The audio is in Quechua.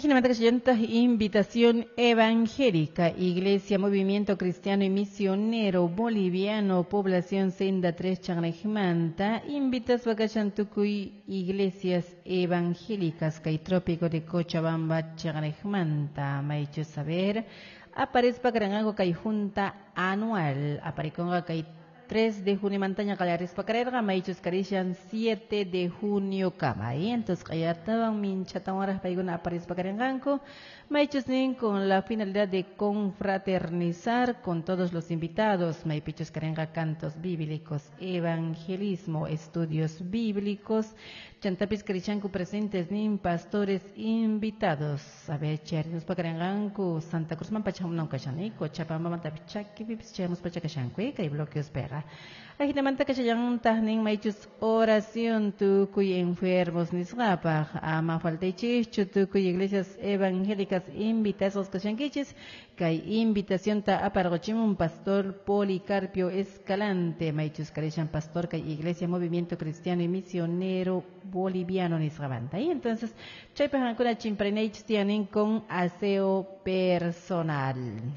Invitación evangélica, Iglesia, Movimiento Cristiano y Misionero Boliviano, Población Senda 3 Chanejmanta, invitas tukuy iglesias evangélicas, kay Trópico de Cochabamba Chanejmanta, maychu saber, aparezpa karanqanku kay junta anual, aparikunqa kay 3 de junio mantaña qallarispa karerqa maychus karishan 7 de junio kama. Entonces qayatawan minchatawanraq paykuna aparispa karinqanku maychus nin con la finalidad de confraternizar con todos los invitados, maypichus karinqa cantos bíblicos, evangelismo, estudios bíblicos, chantapis karishanku presentes nin pastores invitados. A ver, charinuspa karinqanku Santa Cruz man pachamunan kashani, Cochabamba chakipipis chayamuspa chakashanku kay bloqueos pega. Ajinamanta kashallantaj nin maychus oración tukuy enfermos nisqapaq ama faltaychischu tukuy iglesias evangélicas invitados kashankichis kay invitación ta apargochimun pastor Policarpio Escalante maychus karishan pastor kay Iglesia Movimiento Cristiano y Misionero Boliviano nisqamanta. Y entonces chaypaq qankuna chimpranaychis tiyanin con aseo personal.